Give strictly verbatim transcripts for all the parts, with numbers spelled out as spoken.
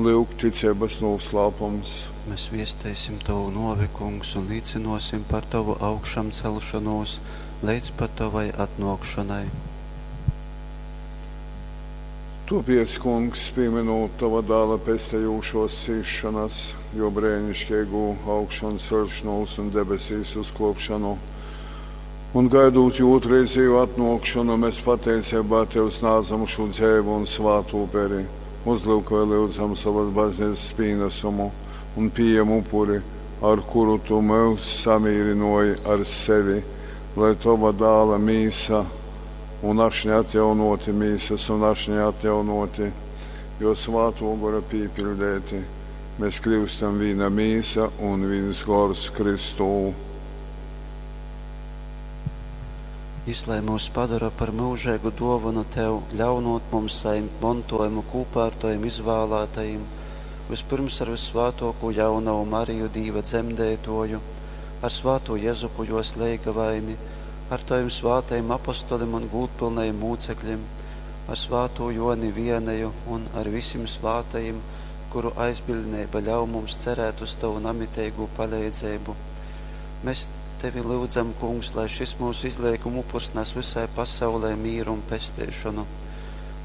Lyuk, ticeibas nūslāpums. Mēs viesteisim tovu nōvi, Kungs, un līcynōsim par tovu augšamceļšonūs leidz pat tovai atnōkšonai. Tōpēc, Kungs, pīmynūt tova Dāla pestejūšōs cīsšonas, jō breiniškeigū augšanceļšonūs un debesīs uzkōpšonu, un gaidūt jō ūtrreizejū atnōkšonu, mēs pateiceibā tev snādzam šū dzeivu un svātu uperi. Uzlyukoj, lyudzam, sovas bazneicas pīnasumu un pījem upuri, ar kuru tu myus samīrynōji ar sevi, lai tova Dāla mīsa un ašņa atjaunōti, mīsas un ašņa atjaunōti, jo Svātō Gora pīpiļdeiti, mēs kļūstam vīna mīsa un vīns gors Kristū. Jys lai myus padora par myužeigu dōvonu tev, ļaunūt mums sajimt montōjumu kūpā ar tovim izvālātajim, vyspyrms ar vyssvātōkū jaunovu Mariju, Dīva dzemdeitōju, ar svātū Jezupu jōs leigavaini, ar tovim svātajim apostolim un gūdpylnajim mūcekļim, ar svātū Jōni Vianeju un ar visim svātajim, kuru aizbiļdneiba ļauj mums cerēt uz tovu namiteigū paleidzeibu. Mēs tevi lyudzam, Kungs, lai šis mūsu izleiguma upurs nes visai pasaulei mīru un pesteišonu.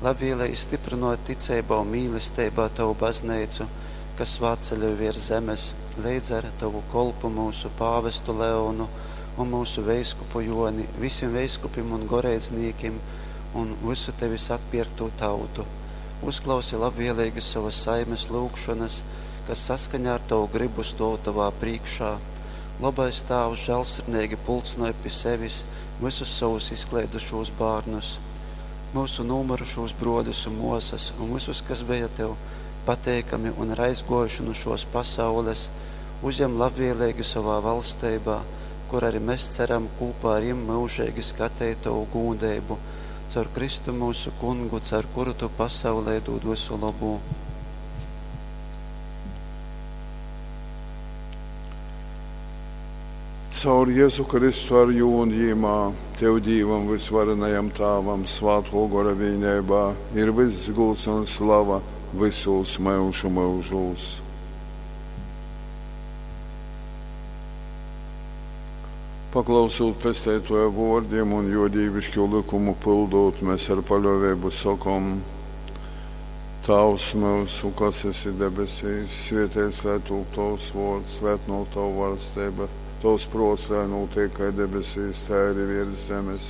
Labvēlīgi stiprinot ticeibā un mīlesteibā tavu bazneicu, kas svētceļoj virs zemes, leidz ar tavu kolpu mūsu pāvestu Leonu un mūsu veiskupu Joni, visiem veiskupim un goreidznīkim un visu tevis atpirkto tautu. Uzklausi labvēlīgi savas saimes lūgšanas, kas saskaņā ar tavu gribu stov tavā priekšā. Labais Tāvs žēlsirdīgi pulcināja pie sevis visus savus izklaidušos bērnus, mūsu nomirušos broļus un mosas, un visus, kas bija tev pateikami un ir aizgojuši no šos pasaules, uzņem labvēlīgi savā valstībā, kur arī mēs ceram kopā ar jim mūžīgi skatīt tavu gūdību, caur Kristu mūsu kungu, caur kuru tu pasaulē dod visu labu. Caur Jēzu Kristu ar jū un jīmā, tev Dīvam vysvarenajam Tāvam, Svātō Gora vīneibā, ir vyss gūds un slava visūs myužu myužūs. Paklausūt pesteitoja vōrdim un jo dīvišķo likumu pildot, mēs ar paļōveibu sokom: Tāvs mūsu, kas esi debesīs, svētīts lai tūp tavs vōrds, lai atnāk tava valstība, tavs prōts, lai notiek kā debesīs, tā arī virs zemes.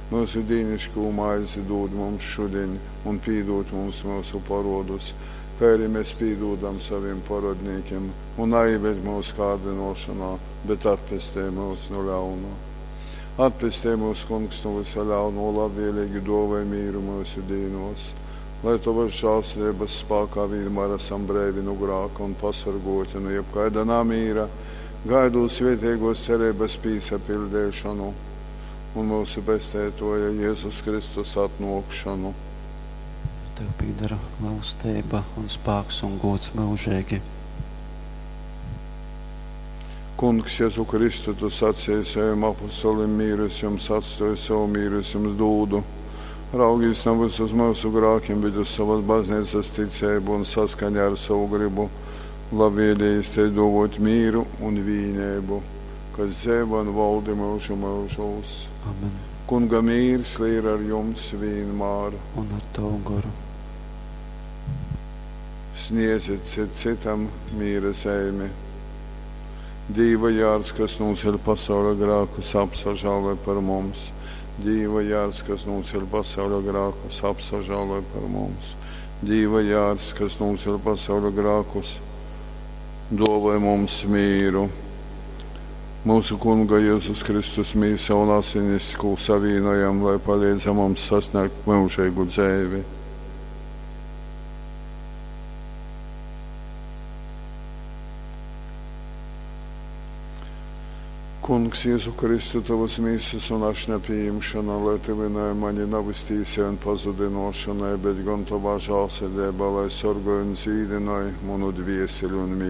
Mūsu dīnišķo maizi dod mums šodien un pīdod mums mūsu parodus, kā arī mēs pīdodam saviem parodnīkiem, un neieved mūsu kārdinošanā, bet atpestī mūs no ļauna. Atpestī mūs, Kungs, no visa ļauno, labvēlīgi dāvāj mīru mūsu dīnos, lai tavas žēlsirdības spēkā vienmēr esam brīvi no grāka un pasargoti no jebkaida namīra, gaidot svētīgos cerības pīsapildīšanu un mūsu pestētoja Jēzus Kristus atnākšanu. Tev pieder valstība un spēks un gods mūžīgi. Kungs, Jēzu Kristu, tu sacīji saviem apostolim, mīru es jums atstāju, savu mīru es jums dūdu. Raugīs nevis uz mūsu grākiem, bet uz savas baznīcas ticību un saskaņā ar savu gribu, labvēlīgi te dovot mīru un vīnību, kas dzīvo un valdi mūžu mūžos. Amen. Kunga mīrs lai ir ar jums vienmēr. Un ar tavu goru. Sniedziet cit citam mīra zeimi. Dīva jārs, kas nūceļ pasaules grākus, apsažāloj par mums. Dīva jārs, kas nūceļ pasaules grākus, apsažāloj par mums. Dīva jārs, kas nūceļ pasaules grākus, dāvāj mums mīru. Mūsu Kunga Jēzus Kristus mīsa un asinis, ko savīnojam, lai palīdz mums sasniegt mūžīgu dzīvi. Kungs, Jēzu Kristu, tavas mīsas un ašņa pieņemšana, lai tuvināja mani nevis tīsai un pazudinošanai, bet gan tavā žēlsirdībā, lai sorgoj un dzīdinoj manu dvieseli un mīsu.